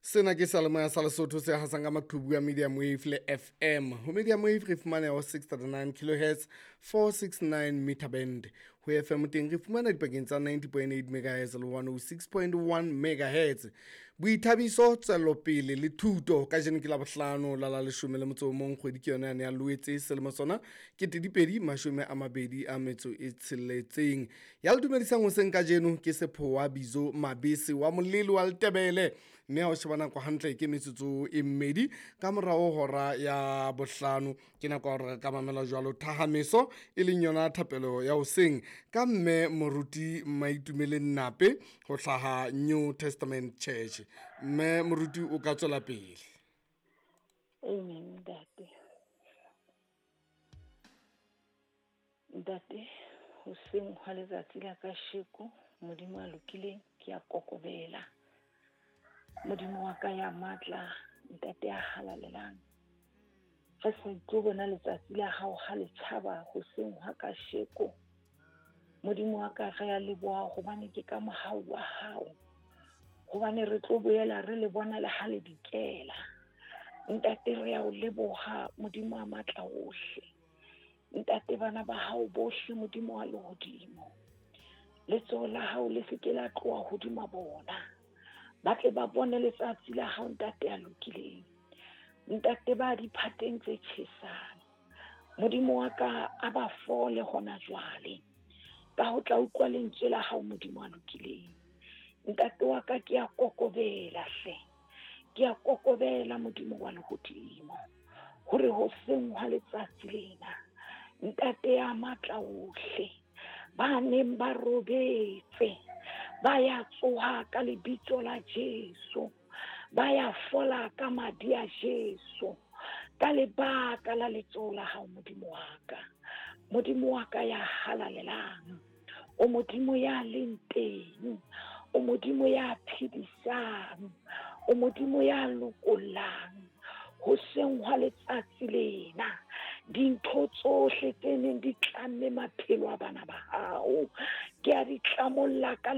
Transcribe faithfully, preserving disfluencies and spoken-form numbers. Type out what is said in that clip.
Sena ke seyalemoya sa Lesotho se hasang ka maqhubu a Medium Wave le F M. Ho Medium Wave re fumaneha ho six thirty-nine kilohertz, four sixty-nine meter band. Ho F M teng re fumana dipakeng tsa ninety point eight megahertz le one oh six point one megahertz. Boithabiso, tswelopele le thuto. Kajeno ke la bohlano la la leshome le motso o mong, kgwedi ke yona yane ya Loetse, selemo sona ke dipedi mashome a mabedi a metso e tsheletseng. Ya le dumedisang hoseng kajeno ke Sephowa Bizo Mabese wa Molele wa Letebele, mme ha o sheba nako hantle ke metsotso e mmedi ka morao hora ya bohlano. Ke nako ya hore re ka mamela jwalo thahameso, e leng yona thapelo ya hoseng ka mme moruti Maitumeleng Nape ho hlaha New Testament Church. Mme moruti, o ka tswela pele. Amen, ntate. Ntate, hoseng hwa letsatsi la kasheko, Modimo a lokileng, ke a kokobela. Modimo wa ka ya matla, ntate ya halalelang. Re sa tlo bona letsatsi la hao ha le tjhaba hoseng hwa kasheko. Modimo wa ka, re a leboha hobane ke ka mohau wa hao. Hobane re tlo boela re le bona le ha le dikela. Ntate, re a o leboha, Modimo wa matla ohle. Ntate, bana ba hao bohle, Modimo wa lehodimo. Letsoho la hao le se ke la tloha hodima bona. Ba tle ba bone letsatsi la hao, ntate ya lokileng. Ntate, ba diphateng tse tjhesang. Modimo wa ka, a ba fole hona jwale. Ka ho tla utlwa lentswe la hao, Modimo wa lokileng. Ntate wa ka, ke a kokobela hle. Ke a kokobela, Modimo wa lehodimo. Hore hoseng hwa letsatsi lena, ntate ya matla ohle, ba neng ba robetse, ba ya tsoha ka lebitso la Jesu. Ba ya fola ka madi a Jesu. Ka lebaka la letsoho la hao, Modimo wa ka. Modimo wa ka ya halalelang. O Modimo ya leng teng. O Modimo ya phedisang. O Modimo ya lokollang. Hoseng hwa letsatsi lena, dintho tsohle tse neng di tlamme maphelo a bana ba hao, ke a di tlamolla ka